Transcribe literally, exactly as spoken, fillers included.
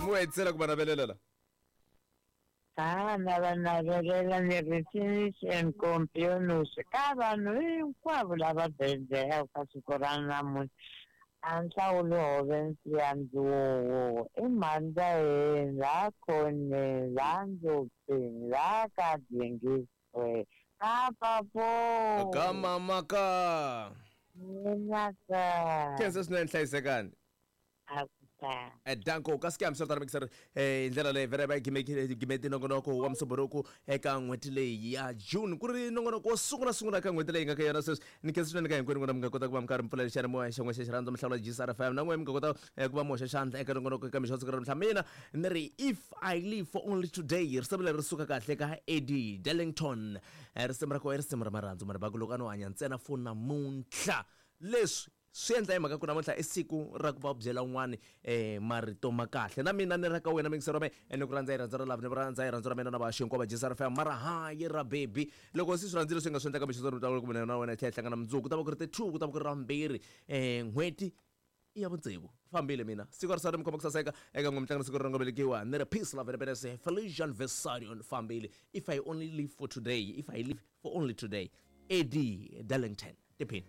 Mi wa hetisela ku va navelela la. A na va navelela ni ri finish and compionus ka vanhu hinkwavo lava bedzeka ka siku ra namuntlha. A nhlawulo hove nsiya ndzuwo i mhandza yeni la khoneni la ndzopeni la ka dzingiswe ka papo Ka mama ka. Mina ka Khensa swinene hlayisekani. A ku ta. Danko ka scam swi ta eh hi ndlela leyi vele va gimete nongonoko wa Musumbhunuku eka n'hweti leyi ya June, ku ri nongonoko wo sungula sungula ka n'hweti leyi nga ka yona sweswi. Ni khensa swinene ka hinkwenu n'wina mi nga kota ku va mi karhi mi pfulela xiyanimoya xa n'we xa xirhandzu mi hlawula G S R F M, na n'we mi nga kota eh, ku va mi hoxa xandla eka nongonoko eka mixo wa siku ra namuntlha. Mina ni ri "If I Live for Only Today", risimu leri ri suka kahle ka Eddie Darlington. Eh, risimu ra kona i risimu ra marhandzu mara baku loko a no hanya ntsena for namuntlha. Leswi swi endla hi mhaka ku namuntlha i siku ra ku va byela un'wani um marito ma kahle. Na mina ni ra ka wena mingisero me ni ku rhandza hi rhandzu ra love, ni ku rhandza hi rhandzu ra mina na vaxi hinkwavo va G S R F M, mara hayi ra baby. Loko se swi rhandzile swi nga swi endlaka mixo mi ku mina na wena hi tlhela hi hlangana mundzuku, ku ta va ku ri ti-two, ku ta va ku ri ra mbirhi, um n'hweti i ya vutsevu. Fambile mina, siku ra sari mi khoma ku saseka eka n'we mitlangu siku ri nga velekiwa. Ni ri peace, love and happiness. Felician Vessarion fambile. "If I Only Live for Today", "If I Live for Only Today", Eddie Darlington. Tiphini.